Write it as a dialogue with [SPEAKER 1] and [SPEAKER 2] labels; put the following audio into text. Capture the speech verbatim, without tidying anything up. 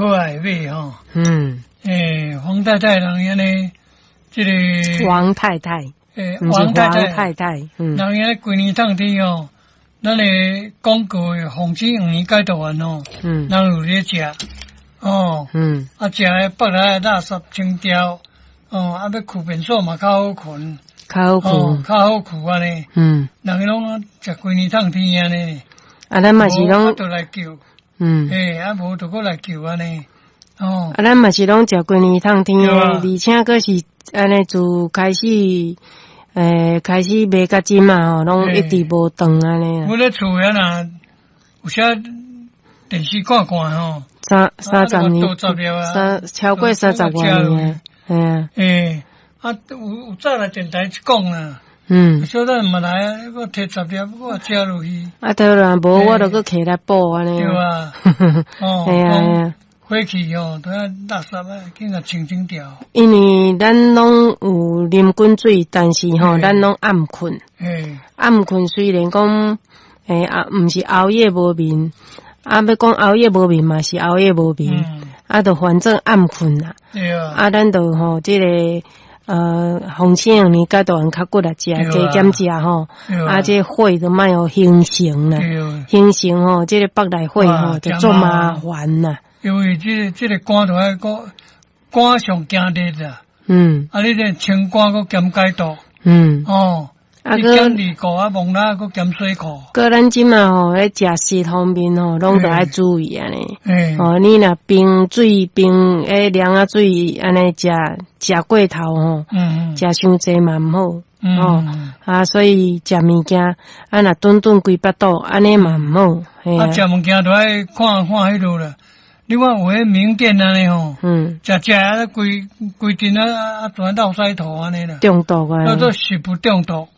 [SPEAKER 1] 可愛的馬吼。
[SPEAKER 2] 嗯。
[SPEAKER 1] 欸，黃太太人按呢，這个
[SPEAKER 2] 王太太，
[SPEAKER 1] 欸，
[SPEAKER 2] 王太太，太，
[SPEAKER 1] 嗯，人按呢規年冬天吼，咱的廣告的防止黃連解毒丸吼，嗯，人有咧食，哦，嗯，啊，食的腹內垃圾清掉，哦，啊，欲睏便所嘛較好睏，
[SPEAKER 2] 較好睏，
[SPEAKER 1] 較好睏按呢，嗯，人攏食規年冬天按呢，
[SPEAKER 2] 啊，咱嘛是攏，
[SPEAKER 1] 就來救，嗯，欸，啊，無就閣來救按呢。哦，
[SPEAKER 2] 啊，咱嘛是攏食規年冬天的，而且閣是按呢自開始，欸，開始賣到這嘛吼，攏一直無斷按呢。
[SPEAKER 1] 我咧厝遐若有時電視看看吼，
[SPEAKER 2] 三三十年，三超過三十外年，係啊。
[SPEAKER 1] 欸，啊，有有早來電台講啦。嗯。小等嘛來，我提十粒，我食落去。
[SPEAKER 2] 啊對啦，無我就閣提來補按呢。
[SPEAKER 1] 對啊。哦。
[SPEAKER 2] 係啊係啊。
[SPEAKER 1] 火氣吼，都愛垃圾啊，緊共清清掉。
[SPEAKER 2] 因為咱攏有啉滾水，但是吼，咱攏暗睏。暗睏雖然講，欸啊，毋是熬夜無眠，啊，欲講熬夜無眠嘛是熬夜無眠，啊，就反正暗睏啦。
[SPEAKER 1] 對啊。
[SPEAKER 2] 啊，咱就吼，這個呃，防止黃連解毒丸較骨力食，加減食吼。啊，這火就莫予形成啦。形成吼，這個腹內火吼就足麻煩啦。
[SPEAKER 1] 因為這個這個肝就愛閣肝上驚熱啦，嗯，啊，你這清肝閣兼解毒，
[SPEAKER 2] 嗯，
[SPEAKER 1] 哦，啊，閣減二褲啊，墓蜊閣減水庫。
[SPEAKER 2] 閣咱這馬吼，咧食食方面吼，攏著愛注意按呢。哦，你若冰水冰欸涼仔水按呢食食過頭吼，嗯，食傷濟嘛毋好，哦，啊，所以食物件啊，若頓頓規腹肚，按呢嘛毋好。
[SPEAKER 1] 啊，食物件著愛看看彼落啦。你看有彼名店按呢吼，嗯，食食啊規規陣啊啊全落屎塗按呢啦，
[SPEAKER 2] 中毒啊，
[SPEAKER 1] 叫做食物中毒。